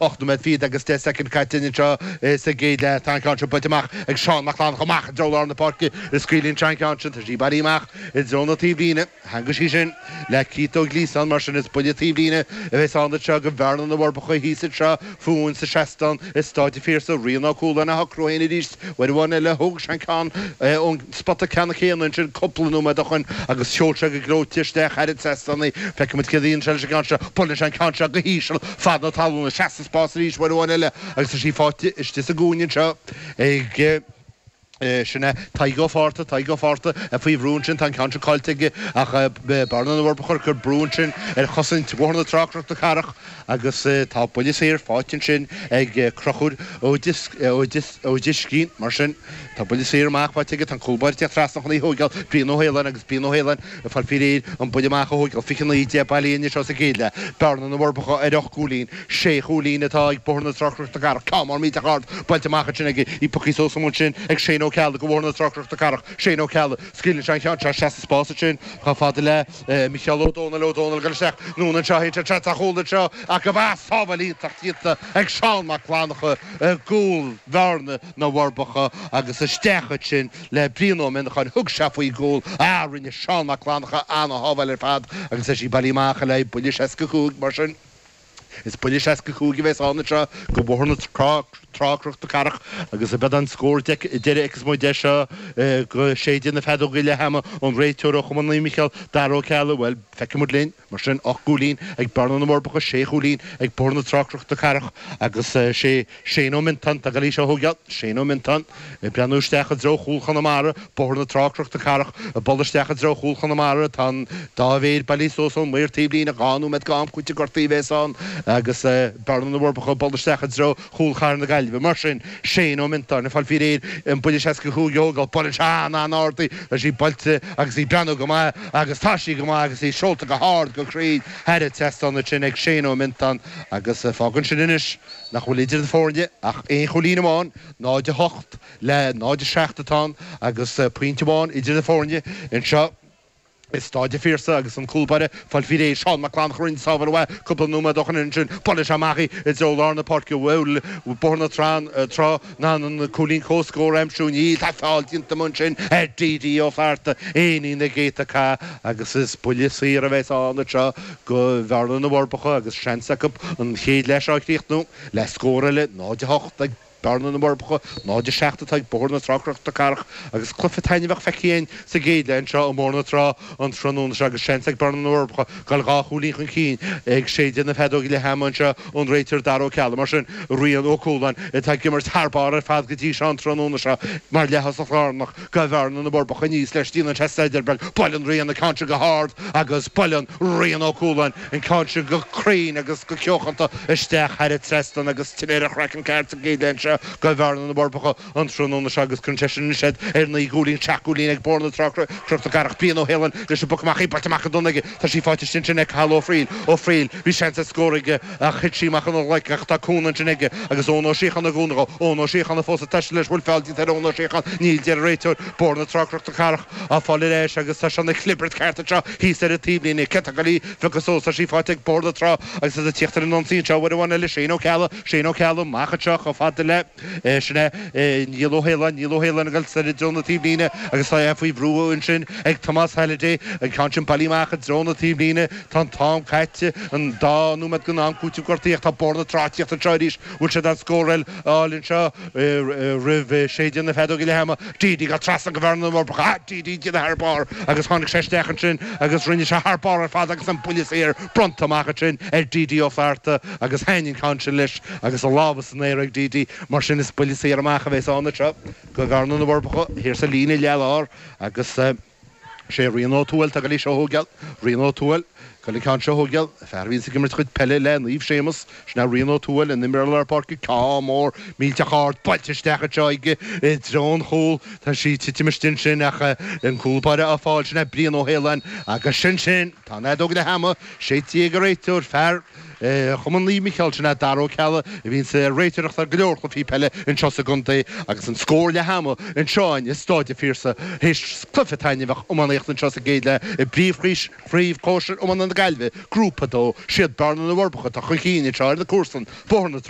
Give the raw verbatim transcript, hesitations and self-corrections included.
Ocht nóiméad fichead agus deich soicind caite anseo sa gcéad leath. Tá an ceann seo buailte amach ag Seán Mac Fhlanncha amach i dtreo lár na páirce. Scaoileann sé an ceann sin. Tá sí bailithe amach i dtreo na taobhlíne. Theangaigh sí sin le Keith Ó Gliasáin. Mar sin is buille taobhlíne a bheas ann anseo do Bhearna na bhForbacha thíos anseo fúinn sa seastán i Stáid an Phiarsaigh. Rian Ó Cualáin á shocrú féin arís uair amháin eile. Thóg sé an ceann ón spota ceannann céanna ansin cúpla nóiméad ó shoin agus sheol sé go gleoite isteach thar an trasnán í. Feicfidh muid céard a dhéanann sé leis an gceann seo. Buaileann sé an ceann seo go híseal fad na talún. Seas sa spás arís uair amháin eile agus tá sí faighte istigh sa gcúinne anseo ag sin é Tadhg Ó Fátharta, Tadhg Ó Fátharta faoi bhrú ansin, tá an ceann seo caillte aige ach Bearna na bhForbacha ag cur brú ansin ar chosaint Bhóthar na Trá Cnoc na Cathrach agus tá buille saor faighte ansin ag Conchúr Ó Driscín. Mar sin tá buille saor amach faighte aige, tá an cúl báire ag tíocht trasna chun í a thóigeáil, Brian Ó hAoláin agus Brian Ó hAoláin ag fáil faoi réir an buille amach a thóigeáil. Fiche naoi déag bailithe anseo sa gcéad leath. Bearna na bhForbacha ar ocht gcúilín, sé chúilín atá ag Bóthar na Trá Cnoc na Cathrach. Ceann mór millteach ard buailte amach ansin aige, í pioctha suas amuigh ansin ag Shane Ó Ceallaigh do Bhóthar na Trá Cnoc na Cathrach. Shane Ó Ceallaigh, scaoileann sé an ceann seo isteach sa spás ansin chomh fada le Micheál Ó Dónaill, Ó Dónaill ag dul isteach anonn anseo, théann sé trasna an chúil anseo ach go bhfeas sábháil iontach déanta ag Seán Mac Fhlanncha i gcúl Bhearna na bhForbacha agus isteach ansin le Brian Ó Mionnacháin. Thug sé faoin gcúl. Ah, rinne Seán Mac Fhlanncha ana-shábháil ar fad agus tá sí bailithe amach le haghaidh buille seasca cúig mar sin. Is buille seasca cúig a bheas ann anseo do Bhóthar na Trá, Cnoc na Cathrach agus beidh an scór deiridh a fheicfeas muid air seo go séideadh na feadóige leath ama ón réiteoir ó Chumann Naomh Micheál, Dara Ó Ceallaigh. Bhuel, feicfidh muid linn. Mar sin, ocht gcúilín ag Bearna na bhForbacha, sé chúilín ag Bóthar na Trá Cnoc na Cathrach agus sé Shane Ó Miontáin atá ag dul í seo a thógáil. Shane Ó Miontáin ag breathnú isteach i dtreo chúl Chonamara, Bóthar na Trá Cnoc na Cathrach ag bualadh isteach i dtreo chúl Chonamara. Tá an dá mhéar bailithe suas ón maor taobhlíne, dhá nóiméad d'am cúitimh gortaithe a bheas ann agus Bearna na bhForbacha ag bualadh isteach i dtreo chúl Chathair na Gaillimhe. Mar sin, Shane Ó Miontáin ag fáil faoi réir an buille seasca cúig a thógáil. Buaileann sé an-an-ard í, tá sí buailte agus í ag breathnú go maith agus tá sí go maith agus í seolta go hard go cruinn thar an trasnán ansin ag Shane Ó Miontáin agus fágann sin anois nach bhfuil idir na foirne ach aon chúilín amháin, náid a hocht le náid a seacht atá ann agus pointe amháin idir na foirne anseo i Stáid an Phiarsaigh agus an cúl báire ag fáil faoi réir Seán Mac Fhlanncha a rinne sábháil mhaith cúpla nóiméad ó shoin ansin. Buaileann sé amach í i dtreo lár na páirce. Bhuel, Bóthar na Trá in ann an cúilín comhscóir a aimsiú. Níl, tá feall déanta amuigh ansin ar D D Ó Flatharta, éinín na gcéadta cath agus is buille saor a bheas ann anseo do Bhearna na bhForbacha agus seans acu an chéad leath seo a chríochnú le scór eile, náid a hocht ag Bearna na bhForbacha, náid a seacht atá ag Bóthar na Trá Cnoc na Cathrach agus cluiche taitneamhach feicthe againn sa gcéad leath anseo i mBóthar na Trá an tráthnóna seo agus seans ag Bearna na bhForbacha dul dhá chúilín chun cinn ag séideadh na feadóige leath ama anseo ón réiteoir Dara Ó Ceallaigh. Mar sin, Rian Ó Cualáin atá ag imirt thar barr ar fad go dtí seo an tráthnóna seo mar leath-thosach lárnach do Bhearna na bhForbacha aníos leis déanann sé staidéar beag. Buaileann Rian an ceann seo go hard agus buaileann Rian Ó Cualáin an ceann seo go cruinn agus go ceochanta isteach thar an trasnán agus tine ar a chraiceann ceart sa gcéad leath anseo do Bhearna na bhForbacha an tráthnóna seo agus cuireann sé sin anois iad ar naoi gcúilín, seacht gcúilín ag Bóthar na Trá Cnoc na Cathrach. Brian Ó hAoláin leis an bpoc amach, í buailte amach go dona aige. Tá sí faighte istigh ansin ag Cathal Ó Frighil. Ó Frighil, bhí seans ar scór aige ach thit sí amach óna ghlaic ach tá cúnamh ansin aige agus Eoin Ó Síocháin ag cúnamh dhó. Eoin Ó Síocháin fós ag taisteal leis, bhfuil feall déanta ar Eoin Ó Síocháin? Níl, deir an réiteoir. Bóthar na Trá Cnoc na Cathrach á fáil ar ais agus tá sé ina chlibirt ceart anseo thíos ar an taobhlíne. Cé atá ag dul í a phiocadh suas? Tá sí faighte ag Bóthar na Trá agus iad ag tíocht ar an ionsaí anseo uair amháin eile. Shane Ó Ceallaigh, Shane Ó Ceallaigh amach anseo chomh fada le, sin é Niall Ó hAoláin, Niall Ó hAoláin ag dul soir i dtreo na taobhlíne agus tá é faoi bhrú ansin ag Tomás Halliday. An ceann sin bailithe amach i dtreo na taobhlíne. Tá an t-am caite, an dá nóiméad den am cúitimh gortaithe ach tá Bóthar na Trá ag tíocht anseo arís. Bhfuil siad in ann scór eile a fháil anseo roimh séideadh na feadóige leath ama? D D ag dul trasna go Bhearna na bhForbacha. Ah! D D ag déanamh thar barr agus tháinig sé isteach ansin agus rinne sé thar barr ar fad agus an buille saor bronnta amach ansin ar D D Ó Flatharta agus thaitin an ceann sin leis agus a lámha san aer ag D D. Mar sin is buille saor amach a bheas ann anseo go Bhearna na bhForbacha thiar sa líne leath-lár agus sé Rian Ó Tuathail atá ag dul í seo a thógáil. Rian Ó Tuathail ag dul an ceann seo a thógáil. Fear a bhíonns ag imirt a chuid peile le Naomh Séamus. Sin é Rian Ó Tuathail, an imreoir lár páirce. Ceann mór millteach ard buailte isteach anseo aige i dtreo an chúil. Tá sí ag titim istigh ansin ach an cúl báire á fáil. Sin é Brian Ó hAoláin agus sin sin. Tá an fheadóg leath ama séidte ag an réiteoir, fear Chumann Naomh Micheál, sin é Dara Ó Ceallaigh, a bhíonns ag réiteoireacht ar go leor cluichí peile anseo sa gcontae agus an scór leath ama anseo i Stáid an Phiarsaigh théis cluiche taitneamhach iománaíochta anseo sa gcéad leath i bpríomhchraobh chóisir iománaíochta Iomána na Gaillimhe, Grúpa a dó, siad Bearna na bhForbacha atá chun cinn anseo ar na cúrsaí Bóthar na Trá.